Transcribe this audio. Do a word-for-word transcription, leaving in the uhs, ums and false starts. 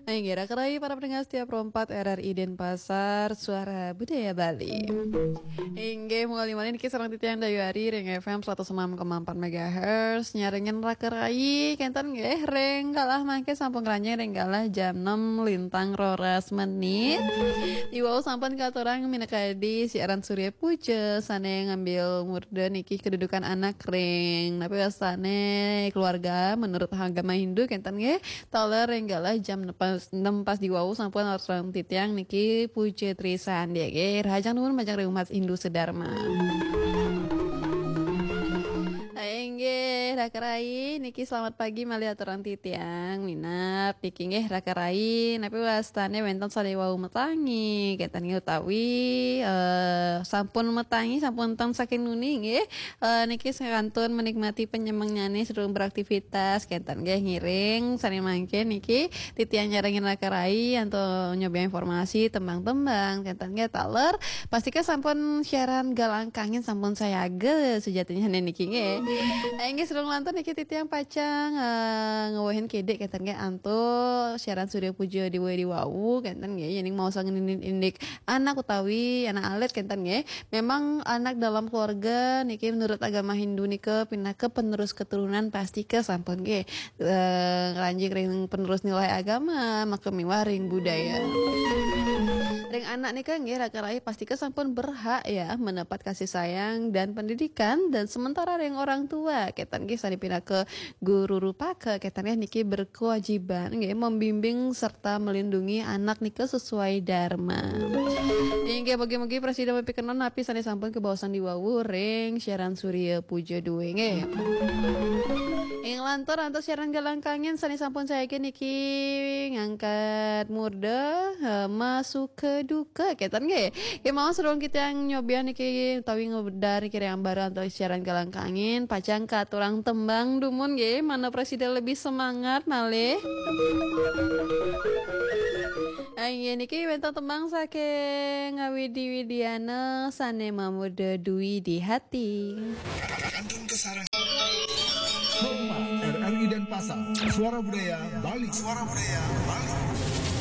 Inggih, raka rayi para pendengar setia Pro empat R R I Denpasar, Suara Budaya Bali. Inggih, mangkin malih niki sareng titiang Dayu Ari ring F M seratus enam koma empat megahertz, nyarengin raka rayi, kenten nggih, ring galah mangke sampun ngranjing ring galah jam enam lintang roras menit. Diwau sampun katurang minakadi siaran Surya Puja sane ngambil murda niki kedudukan anak ring napi wastane keluarga menurut agama Hindu, kenten nggih. Taler ring galah jam enam pas, enam pas diwau sampun aturang titiang niki Puja Trisandi nggih. Rahajeng nuwun majeng ring umat Hindu sedarma. Inggih, raka rayi niki selamat pagi malih aturang titiang. Minab niki nggih raka rayi, napi wastane wenten sane wau metangi, kenten nggih utawi eh, sampun metangi, sampun ten saking nuni nggih. Eh, niki sekantun menikmati penyemengnyane sedurung beraktivitas, kenten nggih ngiring sane mangke niki titiang nyarengin raka rayi antuk nyobiahang informasi tembang-tembang, kenten nggih taler. Pastika sampun siaran Galangkangin sampun sayaga sejatinya niki nggih. Inggih sedurung lantur niki titiang pacang eh, ngewehin kidik, kenten nggih antuk siaran Surya Puja diwau-diwau, kenten nggih. Yening mau sangenin indik anak utawi anak alit, kenten nggih. Memang anak dalam keluarga niki menurut agama Hindu nika pinaka penerus keturunan, pastika sampun nggih eh, ngranjing ring penerus nilai agama, maka miwah ring budaya. Ring anak nika nggih raka rayi pastika sampun berhak ya mendapat kasih sayang dan pendidikan, dan sementara ring orang tua, kenten nggih sane pinaka guru rupaka, kenten nggih niki berkewajiban nggih membimbing serta melindungi anak nika sesuai dharma. Inggih, mugi-mugi prasida mapikenan napi sane sampun kabaosan diwau ring siaran Surya Puja dua nggih. Ing lantur antuk siaran Galangkangin sane sampun saiki niki ngangkat murda, eh, masuka duka, kenten nggih. Kemawon sedurung titiang nyobiahang niki utawi ngudar niki ring ambara antuk siaran Galangkangin, pacang katurang tembang dumun nggih, mangda prasida lebih semangat malih. Inggih niki wenten tembang saking Widi Widiana sane mamurda Dui di Hati. Kantun Kesarang. Pro empat R R I Denpasar, Suara Budaya Bali. Suara Budaya Bali.